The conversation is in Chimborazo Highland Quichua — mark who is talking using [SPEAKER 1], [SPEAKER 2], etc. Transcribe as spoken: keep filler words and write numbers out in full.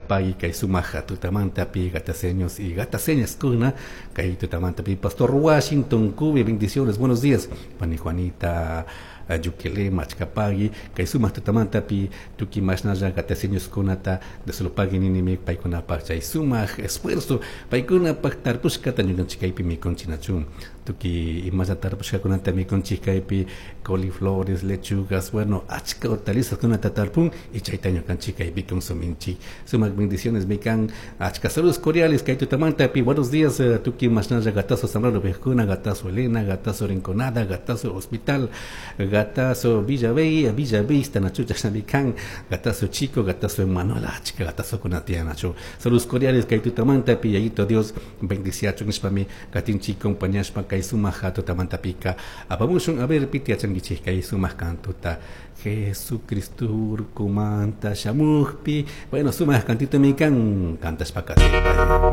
[SPEAKER 1] pagui kay sumaq tutamantapi gataseños y gataseñas kuna kay tutamantapi Pastor Washington Cubi, bendiciones, buenos días, pani Juanita Yukele machkapagui kay sumaq tutamantapi tukuy mashnalla gataseños kunata desolopagui ninimi paykunapaq chay sumaq esfuerzo paykunapaq tarpushkata ñukanchik kaypi mikunchik nachun tukuy imalla tarpushkakunata mikunchik kaypi coliflores, lechugas, bueno, achka hortalizas kunata tarpun y chayta ñukanchik kaypi consuminchik. Sumaq bendiciones mikan achka saludos cordiales kay tutamantapi. Buenos días, eh, tukuy mashnalla gatazo Zambrano viejuna, gatazo Elena, gatazo Rinconada, gatazo Hospital, gatazo Villa Bella, Villa Vista, nachu chashnami kan, gatazo Chico, gatazo Emanuel, achka gatazo kunatiyan nachu. Saludos cordiales kay tutamantapi, Yayito Dios bendiciachun nishpami katinchik compañashpa kay sumaq tutamantapika apamushun. A ver, piti yachankichik kay sumaq kantuta Jesucristo urkumanta shamukpi. Bueno, sumaq kantito mi kan kantashpa katipay.